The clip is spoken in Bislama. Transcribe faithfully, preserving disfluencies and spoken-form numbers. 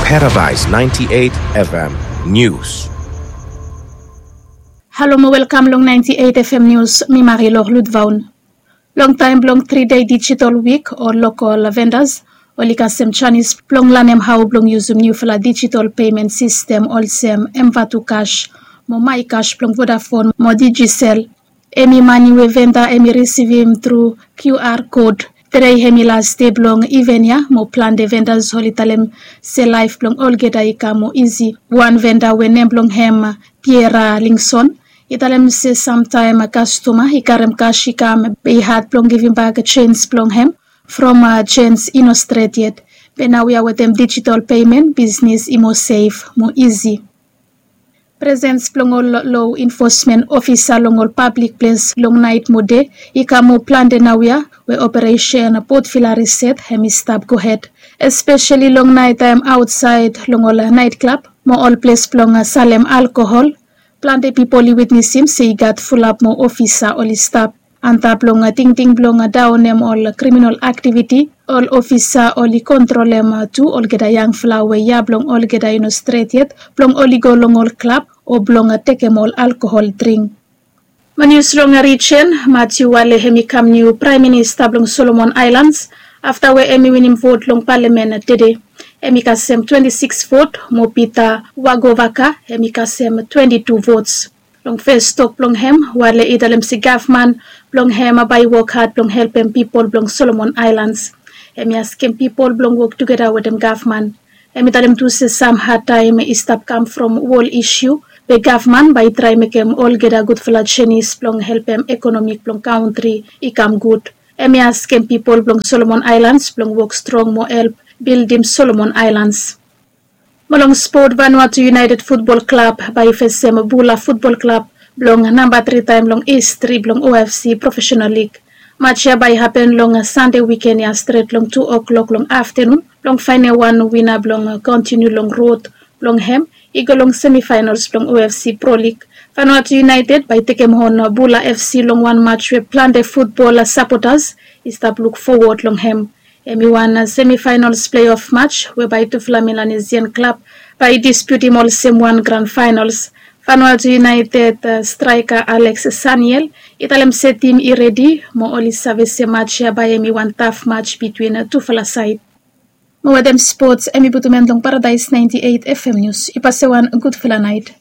Paradise ninety-eight F M News. Halo mo welkam long ninety-eight F M News, mi Marilor Ludvaun. Long taem blong tri dei digital wik, ol lokol vendas oli kasem janis blong lanem hao blong yusum niufala digital payment sistem olsem M Vatu Cash mo My Cash blong Vodafone mo Digicel. Hemi mane we venda hemi risivim tru Q R code. Tedei hemi las dei blong iven ya mo plante vendas oli talem se laef blong olgeta i kam moa isi. Wan venda we nem blong hem Piera Lingson i talem se samtaem kastoma i karem kas i kam be i had blong givimbak jens blong hem from jens i no stret yet. Be naoia wetem digital payment bisnis i moa sef mo isi. Presens blong ol lo infosmen ofisa long ol pablik ples long naet mo dei i kam moa plante naoia we operesen botvila riset hem i stap gohed, espeseli long naet taem aotsaed long ol naet klab mo ol ples blong salem alkohol. Plante pipol i witnesim se i gat fulap moa ofisa oli stap antap long tingting blong daonem ol kriminol aktiviti. Ol ofisa oli kontrolem tu olgeta yangfala we ya blong olgeta i no stret yet blong oli go long ol klab o blong tekem ol alkohol dring. Mo nius long rijen, Matiu Wale hem i kam niu praem minista blong Solomon Aelans afta we hem i winim vot long palamen tede. Hem i kasem twenti sikis vot mo Pita Wagovaka hem i kasem twenti tu vots. Long fes tok blong hem, Wale i talem se gavman blong hem bae i wok had blong helpem pipol blong Solomon Aelans. Hem i askem pipol blong wok tugeta wetem gavman. Hem i talem tu se sam hadtaem i stap kam from wol isiu be gavman bae i traem mekem olgeta gudfala jenis blong helpem ekonomik blong kantri i kam gud. Hem i askem pipol blong Solomon Aelans blong wok strong mo help bildim Solomon Aelans. Mo long spot, Vanuatu United Futbol Klab bae i fesem Bula Futbol Klab blong namba tri taem long histri blong O F C Profesenal Lig. Maj ya bae i hapen long Sande wiken ya stret long tu oklok long aftenun blong faenem wan wina blong kontiniu long rod blong hem i go long semifaenals blong O F C Pro Lig. Vanuatu United bae i tekem on Bula F C long wan maj we plante futbol sapotas i stap luk fowod long hem. Hem i wan semifaenals pleof maj we bae tufala Melanesian klab bae i dispiutim olsem wan gran faenals. Vanuatu United straeka Alex Saniel i talem se tim i redi mo oli save se maj ya bae hem i wan taf maj bitwin tufala saed. Mo wetem spots, hem i putum en long Paradaes naenti eit F M Nius. I pasem wan gudfala naet.